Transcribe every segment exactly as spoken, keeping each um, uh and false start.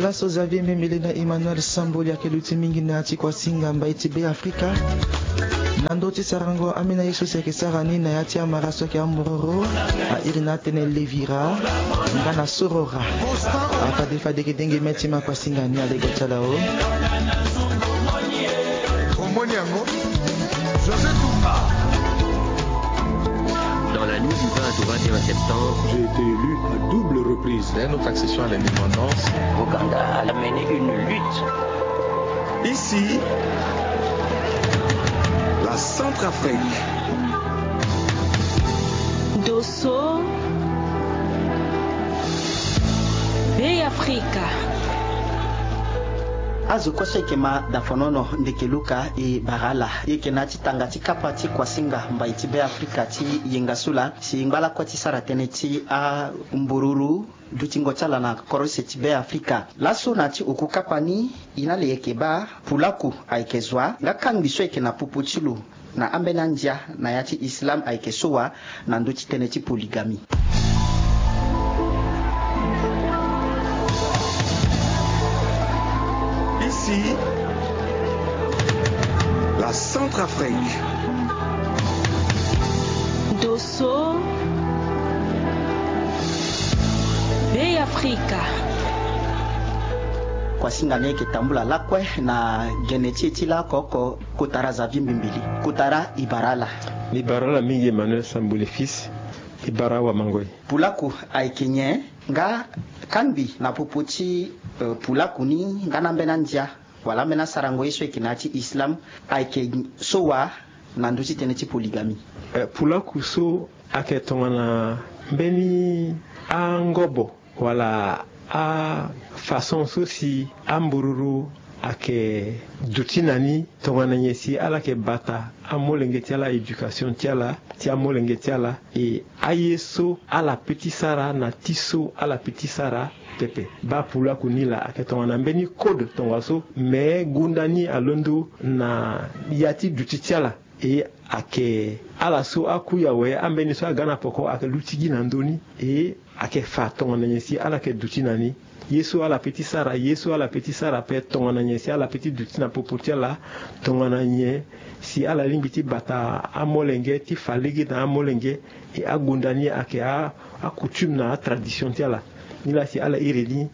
Laso Xavier Mbembele na Emmanuel Samboli ayeke luti mingi na ya ti kuasinga mbai ti Be Afrika. Na ndö ti sarango ambeni aye so si ayeke sara ni na ya ti amara so ayeke ambororo, a iri na atene levira nga na sorora. Afade fade yeke denge mê ti ma kuasinga ni alego ti ala o. Omoni yango? José Tumba. Dans la nuit du vingt au vingt et un septembre, j'ai été élu à double reprise. Dès notre accession à l'indépendance, Ouganda a mené une lutte. Ici, la Centrafrique. Dosso, Be Afrika. Azo kue so eke ma dafonono ndeke luka e bara ala. E yeke na ti tanga ti kapa ti kuasinga mbai ti Be Afrika ti yenga so laa si ngba lakue ti sara tënë ti ambururu dutingo ti ala na korose ti Be Afrika. Laso na ya ti oku kapa ni, e na le yeke baa pulaku ayeke zo wa nga kangbi so ayeke na popo ti lo na ambeni andia na ya ti islam ayeke so wa na ndö ti tënë ti poligami. Ici, la Centrafrique. Dosso, Be Afrika. Kuasinga ni ayeke tambula lakue na gene ti e ti laoko oko. Kotara Xavier Mbembele. Kotara, e bara ala. Mbi bara ala mingi Emmanuel Sambole fils. E bara awamangoi. Pulaku ayeke nyen? Nga kangbi na popo ti, eh, pulaku ni nga na ambeni andia wala ambeni asarango ye so ayeke na ya ti islam ayeke so wa na ndö ti tënë ti poligami? Eh, pulaku so ayeke tongana mbeni angobo wala afaçon so si ambururu ayeke duti na ni tongana nyen si ala yeke bata amolenge ti ala, éducation ti ala, ti amolenge ti ala. E aye so ala peut ti sara na ti so ala peut ti sara pepe. Baa pulaku ni laa ayeke tongana mbeni code tongaso, me gunda ni alondo na ya ti duti ti ala. E ayeke ala so akui awe, ambeni so aga na poko ayeke luti gi na ndö ni. E ayeke fa tongana nyen si ala yeke duti na ni. Ye so ala peut ti sara, ye so ala peut ti sara ape, tongana nyen si ala peut ti duti na popo ti ala, tongana nyen si ala lingbi ti bata amolenge, ti fa lege na amolenge. E agunda ni ayeke a, acoutume na atradition ti ala. Nilaa si ala iri ni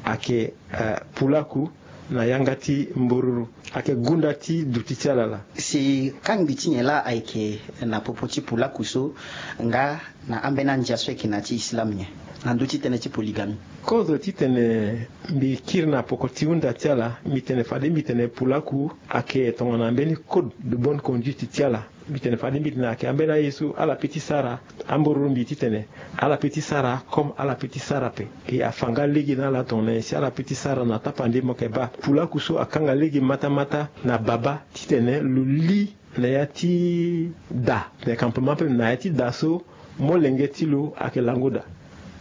ayeke, eh, pulaku na yanga ti mbururu. Ayeke gunda ti duti ti ala laa. Si kangbi ti nyen laa ayeke na popo ti pulaku so nga na ambeni andia so ayeke na ya ti islam nyen na ndö ti tënë ti poligami? Kozo titene mbi kiri na poko ti hunda ti ala, mbi tene fade mbi tene pulaku ayeke tongana mbeni code de bonne conduite ti ala. Mbi tene fade mbi tene ayeke ambeni aye so ala peut ti sara. Ambururu mbi titene ala peut ti sara comme ala peut ti sara ape. E afa nga lege na ala tongana nyen si ala peut ti sara na tapande. Mo yeke baa pulaku so akanga lege matamata na baba titene lo li na ya ti da, na campement ape, na ya ti da so molenge ti lo ayeke lango daa.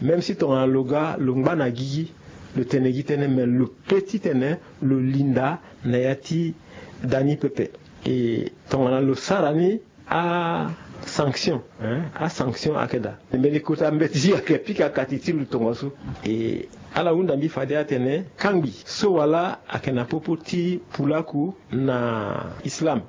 Même si tongana lo ga lo ngba na gigi, lo tene gi tënë, me lo peut titene lo linda na ya ti da ni pepe. E tongana lo sara ni, asanction, hein, asanction ayeke daa. Mbeni kota mbeti ayeke pika kati ti lo tongaso. E ala hunda mbi fade atene kangbi so wala ayeke na popo ti pulaku na islam,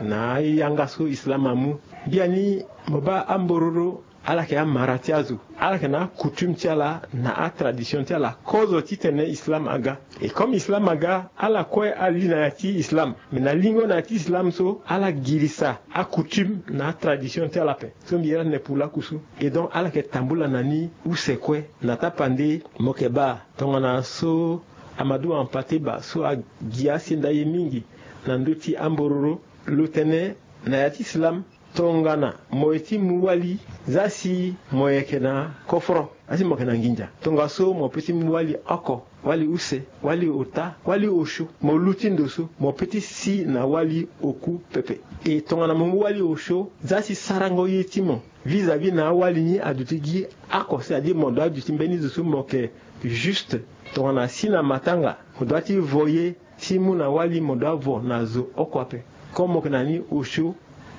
na ayanga so islam amu. Biani mo baa ambororo, ala yeke amara ti azo, ala yeke na acoutume ti ala na atradition ti ala. Kozo titene islam aga. Et comme islam aga, ala kue ali na ya ti islam. Mais na lingo na ya ti islam so, ala girisa acoutume na atradition ti ala ape. So mbi iri atene pulaku so. Et donc ala yeke tambula na ni use kue. Na tapande mo yeke baa tongana so Amadou Hampâté Bâ so agi asenda ye mingi na ndö ti ambororo, lo tene na ya ti islam, tongana mo ye ti mu wali, za si mo yeke na koforo, za si mo yeke na nginza, tongaso mo peut ti mu wali oko, wali use, wali ota, wali osio. Mo luti ndo so, mo peut ti si na wali oku pepe. E tongana mo mu wali osio, za si sarango ye ti mo vis-à-vis na awali ni aduti gi oko, c'est-à-dire mo doit duti mbeni zo so mo yeke juste. Tongana si na matanga, mo doit ti vo ye, si mu na wali mo doit vo na zo oko ape. Comme mo yeke na ni osio,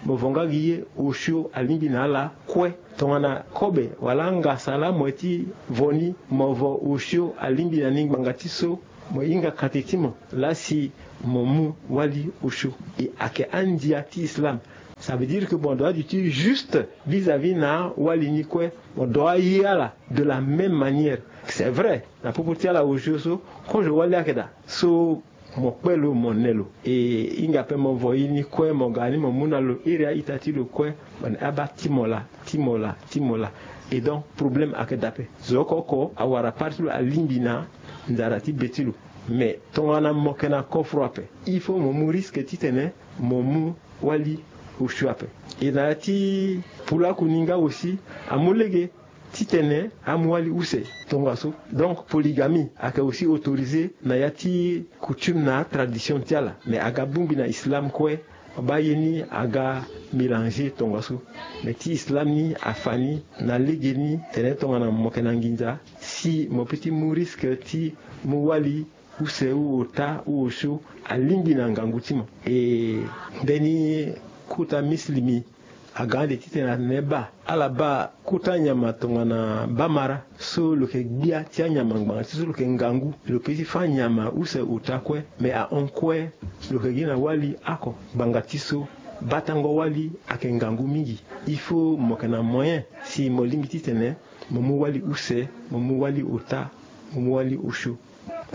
mo vo nga gi ye, osio alingbi na ala kue. Tongana kobe wala angasa laa mo ye ti vo ni, mo vo osio alingbi na ni ngbanga ti so mo hinga kate ti mo laa si mo mu wali osio. E ayeke andia ti islam. Ça veut dire que mo doit du ti juste vis-à-vis na wali ni kue. Mo doit ye ala de la même manière. C'est vrai, na popo ti ala osio so kozo wali ayeke daa. So mo kpe lo, mo ne lo. E hinga ape mo vo ye ni kue, mo ga ni mo mu na lo iri a-ita ti lo kue. Mo ne abaa ti mo laa, ti mo laa, ti mo laa. Et donc problème ayeke daa ape. Zo oko oko awara pari ti lo alingbi na nzara ti be ti lo. Mais tongana mo yeke na kofro ape, il faut mo mu risque titene mo mu wali osio ape. E na ya ti pulaku ni nga aussi amu lege titene amu wali use tongaso. Donc polygamie ayeke aussi autorisé na ya ti coutume na tradition ti ala. Mais aga bongbi na islam kue, baa ye ni aga mélanger tongaso. Mais ti islam ni afa ni na legeni tene tongana mo yeke na nginza, si mo peut ti mu risque ti mu wali use ou ota ou osio alingbi na ngangu ti mo. E mbeni kota misilimi aga ande titene atene baa, ala baa kota nyama tongana bamara so lo yeke gbia ti anyama ngbanga ti so lo yeke ngangu, lo peut ti fâ nyama use ota kue. Mais ahon kue lo yeke gi na wali oko ngbanga ti so batango wali ayeke ngangu mingi. Il faut mo yeke na moyen si mo lingbi titene mo mu wali use, mo mu wali ota, mo mu wali osio.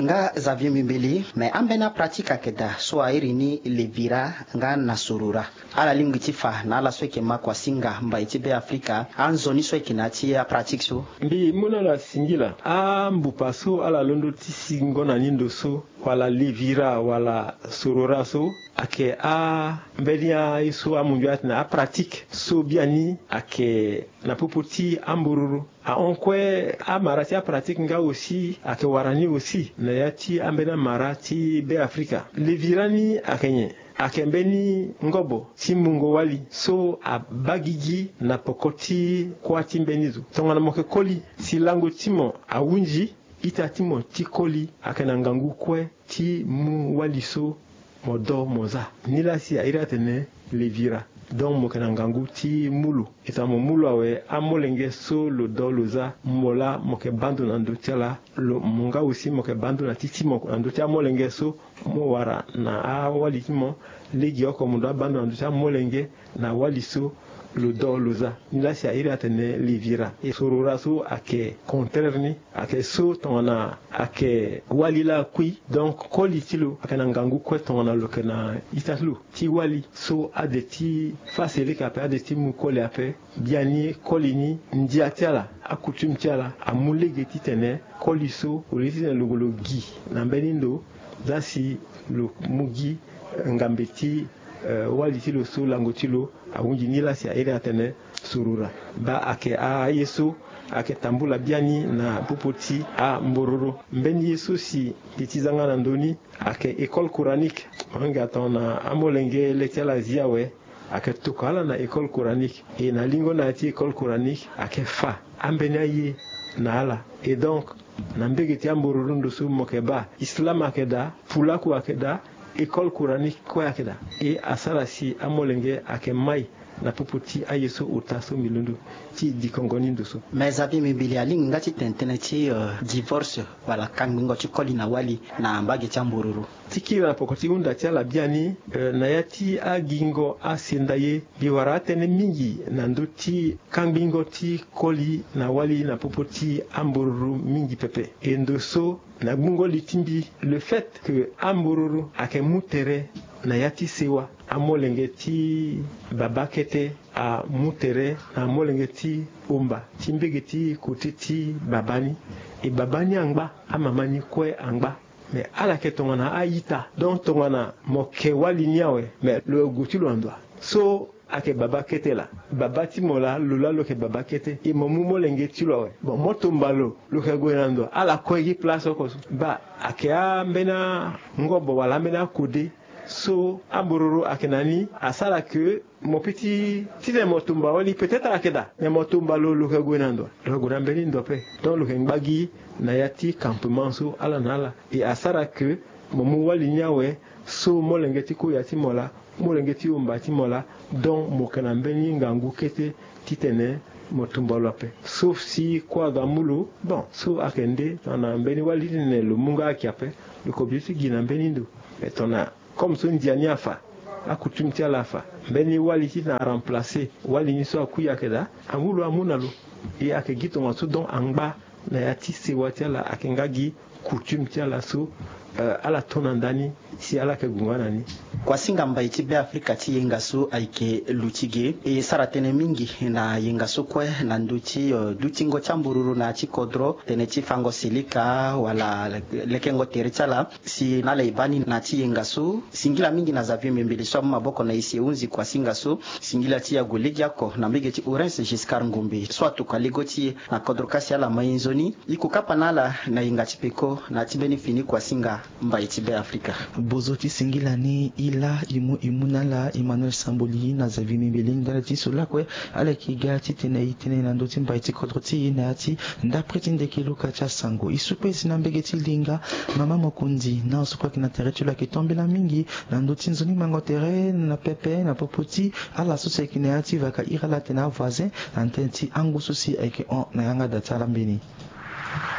Nga Xavier Mbimbili, me ambeni apratike ayeke daa so airi ni levira nga na sorora. Ala lingbi ti fa na ala so ayeke ma kua singa mbai ti Beafrika anzoni so ayeke na ya ti apratike so? Mbi mu na ala singila ambupa so ala londo ti singo na ni ndo so, wala levira wala sorora so, ayeke ambeni aye so amundu atene apratike so biani ayeke na popo ti ambororo. Ahon kue amara ti apratike nga aussi ayeke wara ni aussi na ya ti ambeni amara ti Beafrika. Levira ni ayeke nyen? Ayeke mbeni ngobo ti mungo wali so abaa gigi na poko ti kuâ ti mbeni zo. Tongana mo yeke koli si lango ti mo ahunzi, ita ti mo ti koli ayeke na ngangu kue ti mu wali so mo do mo za. Nilaa si airi atene levira. Donc mo yeke na ngangu ti mu lo. E tongana mo mu lo awe, amolenge so lo do lo za, mo laa mo yeke baa ndo na ndö ti ala. Lo mo nga aussi mo yeke baa ndo na ti ti mo na ndö ti amolenge so mo wara na awali ti mo. Legeoko mo doit baa ndo na ndö ti amolenge na wali so lo do lo za. Nilaa si airi atene levira. E sorora so ayeke contraire ni. Ayeke so tongana ayeke wali laa akui, donc koli ti lo ayeke na ngangu kue tongana lo yeke na ita ti lo ti wali so ade ti fâ sirika ape, ade ti mu koli ape. Biani koli ni, ndia ti ala, akoutume ti ala amu lege titene koli so, au lieu titene lo gue lo gi na mbeni ndo, za si lo mu gi ngambe ti, eh, wali ti lo so lango ti lo ahunzi. Nilaa si airi atene sorora. Baa ayeke aye so ayeke tambula biani na popo ti ambororo. Mbeni ye so si mbi ti za nga na ndö ni ayeke école coranique. Mo yanga tongana amolenge le ti ala azi awe, ayeke tokua ala na école coranique. E na lingo na ya ti école coranique ayeke fa ambeni aye na ala. Et donc na mbege ti ambororo ndo so mo yeke baa, islam ayeke daa, pulaku ayeke daa, école coranique kue ayeke daa. E asara si amolenge ayeke mai na popo ti aye so ota so mbi londo ti dikongo ni ndo so. Mais Xavier Mbimbili, alingbi nga ti tene tënë ti, euh, divorce wala kangbingo ti koli na wali na mbage ti ambororo. Ti kiri na poko ti hunda ti ala biani, euh, na ya ti agingo asenda ye, mbi wara atënë mingi na ndö ti kangbingo ti koli na wali na popo ti ambororo mingi pepe. E ndo so na gbungo li ti mbi, le fait que ambororo ayeke mu tere na ya ti sewa, amolenge ti baba kete amu tere na amolenge ti omba ti mbege ti kote ti baba ni. E baba ni angba, amama ni kue angba. Me ala yeke tongana a-ita. Donc tongana mo ke wali ni awe, me lo yeke gue ti lo na ndo wa? So ayeke baba kete laa. Baba ti mo laa, lo laa lo yeke baba kete. E mo mu molenge ti lo awe. Bon, mo tomba lo, lo yeke gue na ndo wa? Ala kue gi place oko so. Baa, ayeke ambeni angobo wala ambeni akode so ambororo ayeke na ni, asara ke mo peut ti, titene mo tomba wali, peut-être ayeke daa. Me mo tomba lo, lo yeke gue na ndo wa? Lo yeke gue na mbeni ndo ape. Donc lo yeke ngba gi na ya ti campement so ala na ala. E asara ke mo mu wali ni awe, so molenge ti koya ti mo laa, Molenge ti omba ti mo laa, donc mo yeke na mbeni ngangu kete titene mo tumba lo ape. Sauf si kua aza mu lo, bon, so ayeke nde tongana mbeni wali ti tene lo mu nga ayeke ape, lo yeke obligé ti gi na mbeni ndo. Mais tongana comme so ndia ni afa, acoutume ti ala afa, mbeni wali titene aremplacer wali ni so akui ayeke daa, amu lo amu na lo. E ayeke gi tongaso donc angba na ya ti sewa ti ala ayeke nga gi coutume ti ala so, euh, ala to na ndani si ala yeke gue nga na ni. Kuasinga mbai ti Beafrika ti yenga so ayeke luti ge. E sara tënë mingi na yenga so kue na ndö ti, euh, dutingo ti ambururu na ya ti kodro, tënë ti fango silika wala lekengo tere ti ala. Si na ala e baa ni na ya ti yenga so, singila mingi na Xavier Mbembele so amu maboko na e si e hunzi kuasinga so, singila ti ya gue legeoko na mbege ti Urens Giscard Ngombe so atokua lego ti e na kodro kasi ala ma e nzoni. E ko kapa na ala na yenga ti peko na ya ti mbeni fini kuasinga mbai ti Beafrika. Bozo ti singila ni, e laa e mu e mu na ala Emmanuel Samboli na Xavier Mbembele ndali ti so lakue ala yeke ga titene e tene na ndö ti mbai ti kodro ti e na ya ti ndapre ti ndeke luka ti asango. E su kue si na mbege ti linga mama mokonzi na aso kue ayeke na tere ti lo ayeke tombela mingi na ndö ti nzoni mango tere na pepe na popo ti ala so si ayeke na ya ti vaka iri ala tene avoisin na tënë ti angu so si ayeke hon na yanga da ti ala mbeni.